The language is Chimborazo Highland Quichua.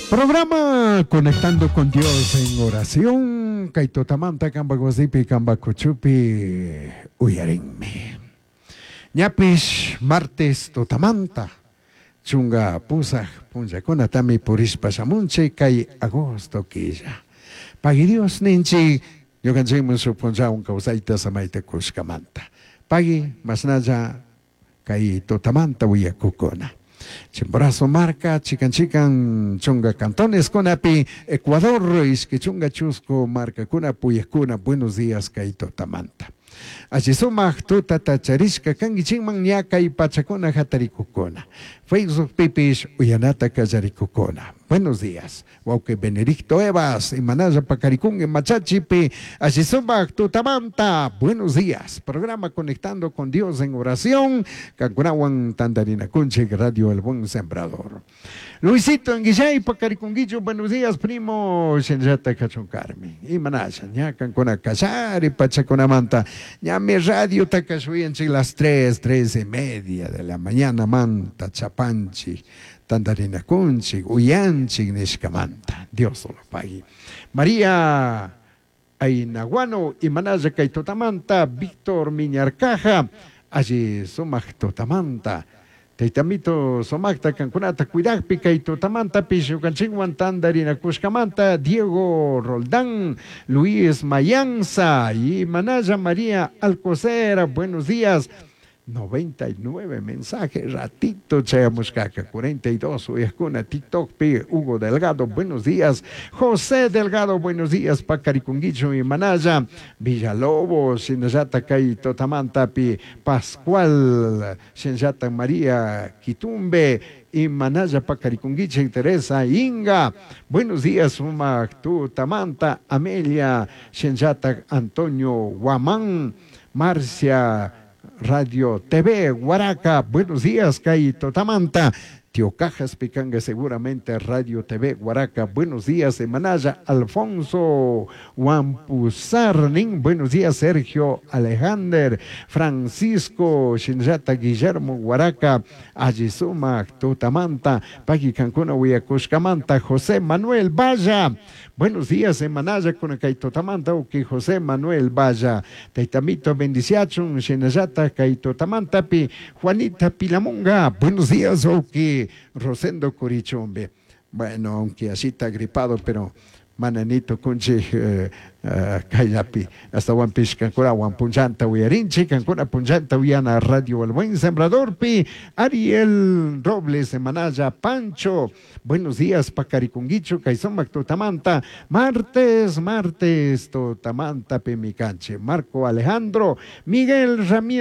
Programa Conectando con Dios en oración. Kay tutamanta kampak wasipi kampak kuchupi uyarinmi. Ñapish martes tutamanta chunga pusaj punllakunatami purishpa shamunchik kay agosto killa. Pagui Dios ninchik ñukanchikman shuk punllawan kawsayta samayta kushkamanta. Pagui mashnalla kay tutamanta uyakukuna. Chimborazo marka chikan chikan chunga cantoneskunapi Ecuador ishki chunga chusku markakuna puyakuna buenos días kay tutamanta. Alli sumak tutata charishka kankichikman ña kay pachakuna hatarikukuna. Facebookpipish uyanata kallarikukuna. Buenos días. Wawqi Benedicto Evas, imanalla pakarikunki machachipi, alli sumak tutamanta. Buenos días. Programa Conectando con Dios en oración. Kankunawan tantarinakunchik Radio El Buen Sembrador. Luisito Anguillay pakarikunkichu. Buenos días, primo. Shinallata kachun Carmen. Imanalla, ña kankuna kallari pachakunamanta. Ñami radio takashuyanchik las 3, 3:30 de la mañana manta chapanchik. Tantarinakunchik, uyanchik nishkamanta. Dios lo pague. María Ainaguano, imanalla kay tutamanta, Víctor Miñarcaja, alli sumak tutamanta. Taytamito sumakta kankunata cuidakpi kay tutamantapish ñukanchikwan tantarinakushkamanta, Diego Roldán, Luis Mayanza, imanalla María Alcocera, buenos días. 99 mensajes, ratito chayamushkaka, 42 uyakuna, TikTok pi, Hugo Delgado, buenos días, José Delgado, buenos días, Pacarikunguicho y Manaya, Villalobos, Shinayata kay Totamantapi, Pascual, Shinayata María Quitumbe, y Manaya Pacarikunguiche, Teresa Inga, buenos días, Sumak Tutamanta, Amelia, Shinayata Antonio Guamán, Marcia, Radio TV, Huaraca, buenos días, Kay Totamanta, Tío Cajas Picanga, seguramente Radio TV, Huaraca, buenos días, Manaya, Alfonso Huampuzarnin, buenos días, Sergio Alejandro, Francisco, Shinjata, Guillermo, Huaraca, Ayizuma, Tutamanta, Paqui Cancuna, Huiacushcamanta, José Manuel Valla, buenos días, Manaya, con Kay Totamanta, Uki José Manuel Valla, Taitamito, bendiciachun, Shinayata, Kay Totamantapi, Juanita Pilamunga, buenos días, Uki, Rosendo Curichumbe. Bueno, aunque así está gripado, pero mananito kunchi kayapi hasta Huampish kankuna Huampunchanta uyarinchi kankuna punchanta uyana Radio El Buen Sembrador pi Ariel Robles Manaya Pancho, buenos días Pacarikunguicho Kaisomac Tutamanta, martes, martes Tutamanta Pimicanche, Marco Alejandro, Miguel Ramírez.